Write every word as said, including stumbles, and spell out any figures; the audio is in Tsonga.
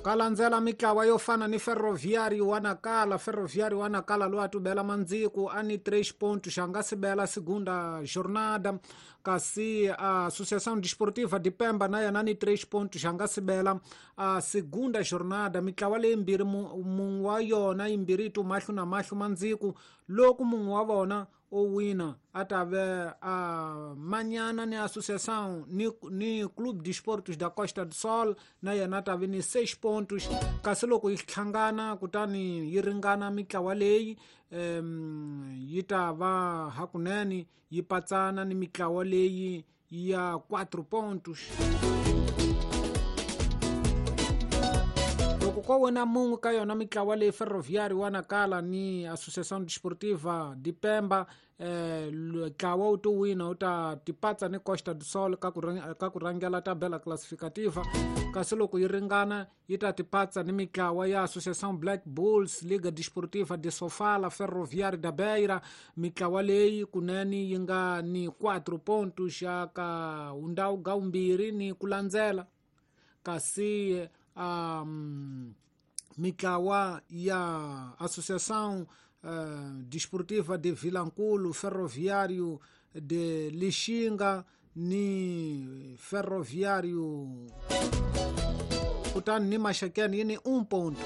Ka landzela mitlawa yo fana ni Ferroviário wa Nacala. Ferroviário wa Nacala loyi a tubela mandziku a ni três pontos, a nga sibela segunda jornada. Kasi a Associação Desportiva de Pemba na yena ni três pontos, a nga sibela a segunda jornada. Mitlawa leyimbirhi mun'we wa yona yimbirhi yi tu mahlo na mahlo mandziku, loko mun'we wa vona o wina a ta ve a manyana ni Associação ni, ni Clube de Esportes da Costa do Sol na yena a ta ve ni seis pontos. Kasi loko yi hlangana kutani yi ringana mitlawa leyi um, yi ta va hakunene yi patsana ni mitlawa leyi ya quatro pontos. Loko ko wina mun'we ka yona mitlawa leyi Ferroviário wa Nacala ni Associação Desportiva de Pemba, eh, ntlawa wu to wina wu ta tipatsa ni Costa do Sol ka ku ka ku rhangela tabela classificativa. Kasi loko yi ringana yi ta tipatsa ni mitlawa ya Associação Black Bulls, Liga Desportiva de Sofala, Ferroviário da Beira. Mitlawa leyi kunene yi nga ni quatro pontos ya ka undhawu ga vumbirhi ni ku landzela. Kasi um, mitlawa ya Associação uh, Desportiva de Vilankulo, Ferroviário de Lixinga ni Ferroviário kutani ni Maxakeni yi ni um ponto.